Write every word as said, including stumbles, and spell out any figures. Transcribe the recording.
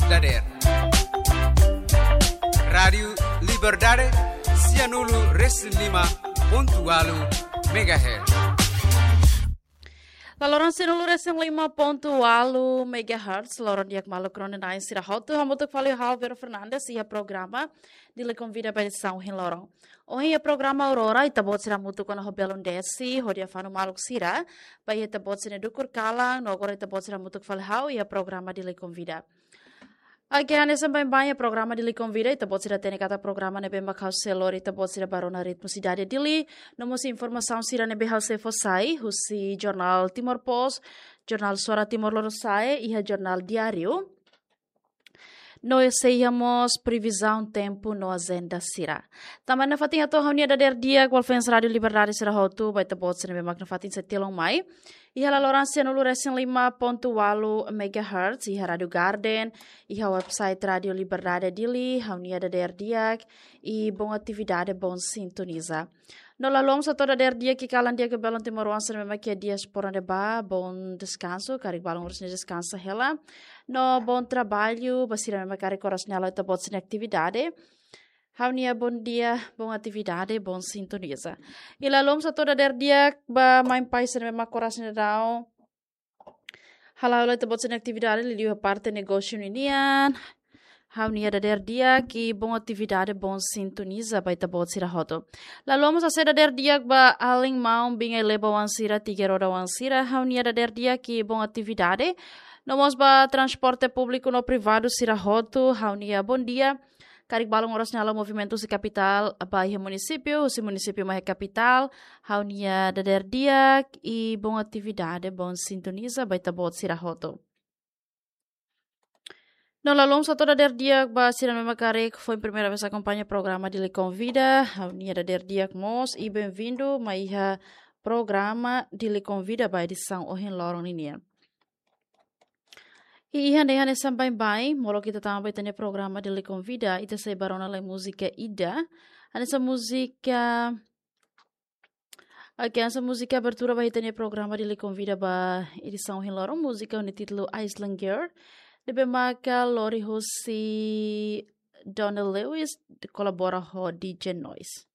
Dader. Rádiu Liberdade, sianulu resin lima pontu ualu megahertz. Laloran sianulu resin lima pontu ualu megahertz, loron di'ak maluk rona-na'in sira hotu, hamutuk fali ho ha'u Vero Fernandes, iha programa Dili Konvida ba edisaun ohin loron. Ohin iha programa Aurora, ita-boot sira hamutuk ona ho belun desi, hodi afanu maluk sira, ba iha ita-boot sira-nia dukur kalan, no agora ita-boot sira hamutuk fali ho ha'u, iha programa Dili Konvida. Oke, hanesan baibain iha programa Dili Konvida, ita-boot sira hatene katak programa ne'ebé mak ha'u sei lori ita-boot sira ba rona ritmu sidade Dili, no mós informasaun sira ne'ebé ha'u sei fó sai, husi jornál Timor Post, jornál Suara Timor Lorosa'e, iha jornál Diáriu. No sei iha mós previzaun tempu no ajenda sira. Tanba nafatin atu ha'u-nia dader di'ak ba fans Rádiu Liberdade sira hotu, ba ita-boot sira ne'ebé mak nafatin sei tilun mai. Iha laloran sianulu resin lima pontu ualu megahertz, iha Rádiu Garden, iha website Rádiu Liberdade Dili, ha'u-nia dader di'ak, i bom atividade, bom sintoniza. No la haluha mós hato'o dader di'ak iha kalan di'ak ba belun timoroan sira ne'ebé mak iha diáspora ne'ebá, bom deskansu, karik balun oras ne'e deskansa hela. No bom traballu, ba sira ne'ebé mak karik oras ne'e halo ita-boot sira-nia atividade. Ha'u-nia bom dia, bom atividade, bom sintoniza. I la haluha mós hato'o dader di'ak ba mãe pai sira ne'ebé mak oras ne'e daudaun hala'o hela ita-boot sira-nia atividade, liuliu iha parte negósiu ninian. Ha'u-nia dader di'ak i bom atividade, bom sintoniza ba ita-boot sira hotu. La haluha mós hato'o dader di'ak ba alin maun, biin ai-leba-oan sira, tiga roda oan sira, ha'u-nia dader di'ak i bom atividade. No mós ba transporte públiku no privadu sira hotu, ha'u-nia bom dia. Karik balun oras ne'e halo movimentu husi kapitál ba iha munisípiu, husi munisípiu mai iha kapitál, ha'u-nia dader di'ak i bom atividade, bom sintoniza ba ita-boot sira hotu. No la haluha mós hato'o dader di'ak ba sira ne'ebé mak karik foin primeira vez akompaña programa Dili Konvida, ha'u-nia dader di'ak mós i bem-vindo mai iha programa Dili Konvida ba edisaun ohin loron ninian. I iha ne'e hanesan baibain, molok ita tama ba ita-nia programa Dili Konvida, ita sei ba rona lai múzika ida. Hanesan múzika, oke, hanesan múzika abertura ba ita-nia programa Dili Konvida ba edisaun ohin loron, múzika ho nia títulu Island Girl, ne'ebé maka lori husi Donald Lewis, kolabora ho D J Noise.